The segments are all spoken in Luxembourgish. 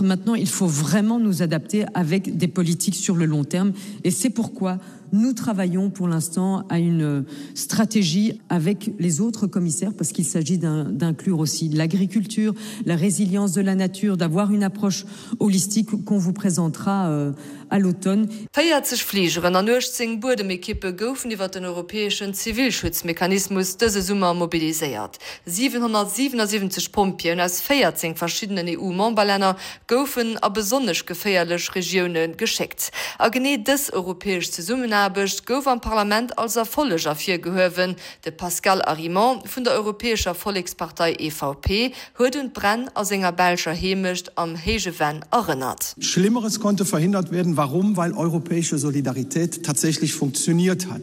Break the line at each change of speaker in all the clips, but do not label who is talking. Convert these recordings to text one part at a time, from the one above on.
Maintenant, il faut vraiment nous adapter avec des politiques sur le long terme et c'est pourquoi nous travaillons pour l'instant à une stratégie avec les autres commissaires parce qu'il s'agit d'inclure aussi l'agriculture, la résilience de la nature, d'avoir une approche holistique qu'on vous présentera euh, à l'automne.
40 Fligeren an 18 Buedemekippe goufen iwwer den europäeschen Zivilschutzmechanismus dëse Summer mobiliséiert. 777 Pompjeeën aus 14 verschiddenen EU-Memberlänner goufen a besonnesch geféierlech Regioune geschéckt. A genee dës europäesch Zesummenaarbecht gouf am Parlament als Erfolleg ervirgehuewen. De Pascal Arimont vun der Europäescher Vollekspartei, EVP, huet un d'Bränn a senger belscher Heemecht am Héije Venn erënnert.
Schlimmeres konnte verhindert werden. Warum? Weil europäische Solidarität tatsächlich funktioniert hat.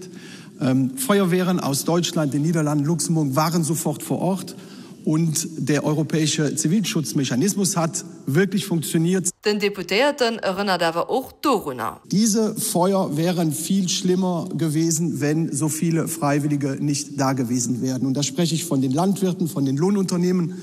Ähm, Feuerwehren aus Deutschland, den Niederlanden, Luxemburg waren sofort vor Ort und der europäische Zivilschutzmechanismus hat wirklich funktioniert.
Den Deputéierten erënnert awer och dorunner.
Diese Feuer wären viel schlimmer gewesen, wenn so viele Freiwillige nicht da gewesen wären. Und da spreche ich von den Landwirten, von den Lohnunternehmen,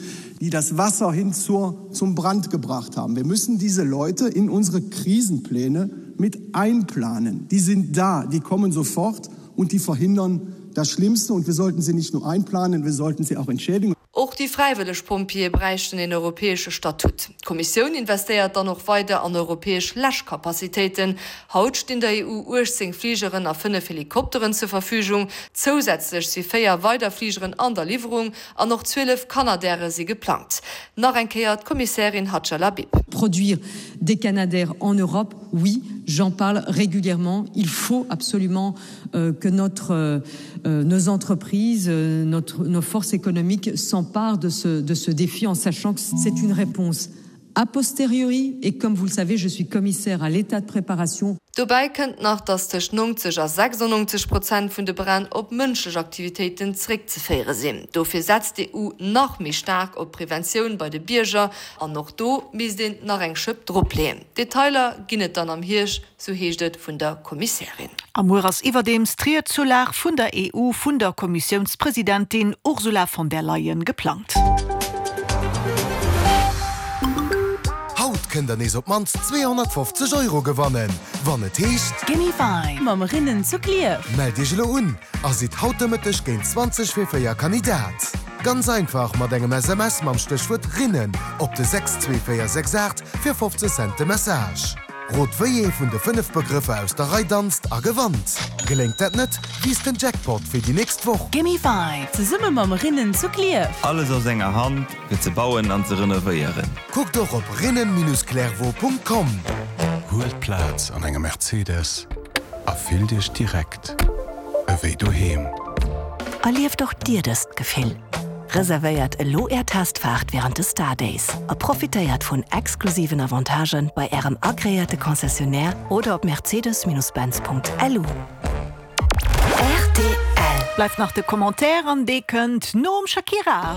die das Wasser hin zur, zum Brand gebracht haben. Wir müssen diese Leute in unsere Krisenpläne mit einplanen. Die sind da, die kommen sofort und die verhindern das Schlimmste. Und wir sollten sie nicht nur einplanen, wir sollten sie auch entschädigen.
Och déi fräiwëlleg Pompjeeë bräichten een europäesche Statut. D'Kommissioun investéiert dann och weider an europäesch Läschcapacitéiten. Haut stinn der EU 18 Fligeren a 5 Helikopteren zur Verfügung. Zousätzlech si 4 weider Fligeren an der Liwwerung an och 12 Canadaire si geplangt. Nach eng Kéier d'Kommissärin Hadja Lahbib.
Produire des Canadaires en Europe, oui, j'en parle régulièrement. Il faut absolument euh, que notre, euh, euh, nos entreprises, notre, nos forces économiques s'emparent de ce, de ce défi en sachant que c'est une réponse a posteriori et comme vous le savez, je suis commissaire à l'état de préparation.
Dobäi kënnt nach, datt tëscht 90 a 96 Prozent vun de Bränn op mënschlech Aktivitéiten zeréckzeféiere sinn. Dofir setzt d'EU nach méi staark op Preventioun bei de Bierger an och do misst een nach eng Schëpp dropleeën. Detailer ginn et dann am Hierscht, sou heescht et vun der Kommissärin.
A muer ass iwwerdeems d'Ried zur Lag vun der EU vun der Kommissiounspresidentin Ursula von der Leyen geplangt.
Haut kënnt der nees op d'mannst 250 Euro gewannen, wann et heescht.
Gimme Five mam Rinnen zu Klierf.
Mellt iech elo un a sidd haut de Mëtteg géint 20 vir 4 Kandidat. Ganz einfach mat engem SMS mam Stéchwuert Rinnen op de 62468 fir 50 Cent de Message. Rot wéi ee vun de 5 Begrëffer aus der Rei danzt a gewannt. Geléngt dat net, wiisst den Jackpot fir déi nächst Woch.
Gimme Five zesumme mam Rinnen zu Klierf.
Alles aus enger Hand fir ze bauen an ze renovéieren.
Kuckt och op rinnen-clairvaux.com.
Huelt Plaz an engem Mercedes a fillt Iech direkt ewéi doheem.
Erlieft och dir dëst Gefill! Reservéiert elo Är Testfaart wärend de Star Days a profitéiert vun exklusiven Avantagen bei Ärem agreéierte Concessionnaire oder op mercedes-benz.lu. Rtl.
Bleift nach de Commentaire an dee kënnt nom Shakira.